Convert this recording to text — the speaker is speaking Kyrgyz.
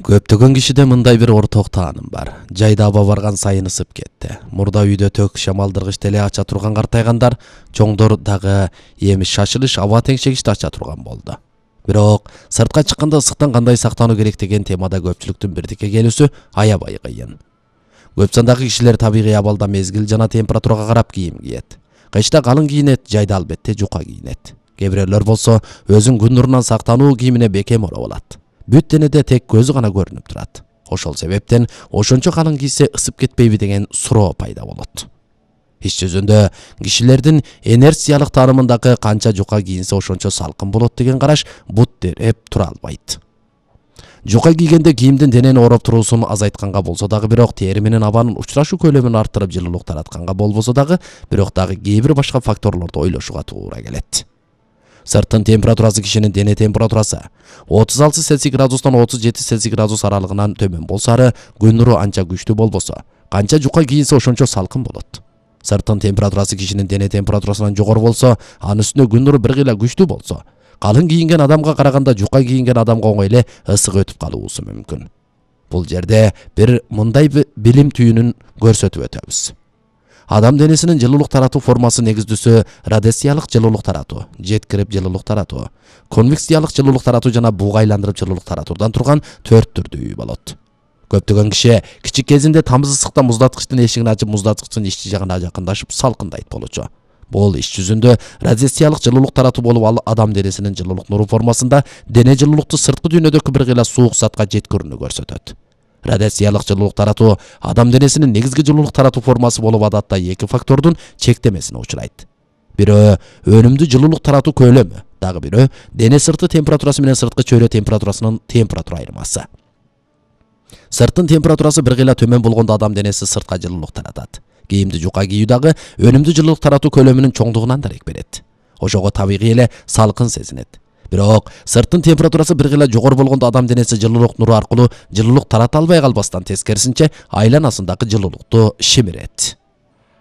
Көптөгөн кишиде мындай бир орток тааным бар. Жайда аба барган сайын ысып кетти. Мурда үйдө төк шамалдыргыч теле ача турган картайгандар, чоңдор дагы эми шашылыш аба теңшегичти ача турган болду. Бирок сыртка чыкканда ысыктан кандай сактануу керек деген темада көпчүлүктүн бирдикке келүүсү аябай кыйын. Көп сандагы кишилер табигый абалда мезгил жана температурага карап кийим кийет. Кышта калың кийинет, жайда албетте жука кийинет. Кээ бирөөлөр болсо өзүн күн нурунан сактануу кийимине бекем ороп алат. Бүт денеде тек көзү гана көрүнүп турат. Ошол себептен ошончо калың кийсе ысып кетпейби деген суроо пайда болот. Иш жүзүндө кишилердин инерциялык таанымындагы канча жука кийинсе ошончо салкын болот деген караш бут дереп тура албайт. Жука кийгенде кийимдин денени ороп туруусун азайтканга болсо дагы, бирок тери менен абанын учурашуу көлөмүн арттырып жылуулук таратканга болбосо дагы, бирок дагы кээ бир башка факторлорду ойлошууга туура келет. Сырттын температурасы кишинин дене температурасы 36 Цельсий градустан 37 Цельсий градус аралыгынан төмөн болсо, күн нуру анча күчтүү болбосо, канча жука кийинсе ошончо салкын болот. Сырттын температурасы кишинин дене температурасынан жогору болсо, анын үстүнө күн нуру бир кыйла күчтүү болсо, калың кийинген адамга караганда жука кийинген адамга оңой эле ысык өтүп калуусу мүмкүн. Бул жерде бир мындай билим түйүнүн көрсөтүп өтөбүз. Адам денесинин жылуулук таратуу формасы негиздүүсү радиациялык жылуулук таратуу, жеткирип жылуулук таратуу, конвекциялык жылуулук таратуу жана буга айландырып жылуулук таратуудан турган 4 түрдүү болот. Көптөгөн киши кичик кезинде тамыз ысыкта муздаткычтын эшигин ачып, муздаткычтын ички жагына жакындашып салкындайт болчу. Бул иш жүзүндө радиациялык жылуулук таратуу болуп, ал адам денесинин жылуулук нуру формасында дене жылуулукту сырткы дүйнөдөгү бир кыйла суук затка жеткирүүнү көрсөтөт. Радиациялык жылуулук таратуу адам денесинин негизги жылуулук таратуу формасы болуп, адатта эки фактордун чектемесине учурайт. Бирөө өнүмдүү жылуулук таратуу көлөмү, дагы бирөө дене сырты температурасы менен сырткы чөйрө температурасынын температура айырмасы. Сырттын температурасы бир кыйла төмөн болгондо адам денеси сыртка жылуулук таратат. Кийимди жука кийүү дагы өнүмдүү жылуулук таратуу көлөмүнүн чоңдугунан дарек берет. Ошого табигый эле салкын сезинет. Бирок сырттын температурасы бир кыйла жогору болгондо адам денеси жылуулук нуру аркылуу жылуулук тарата албай калбастан, тескерисинче айланасындагы жылуулукту шимирет.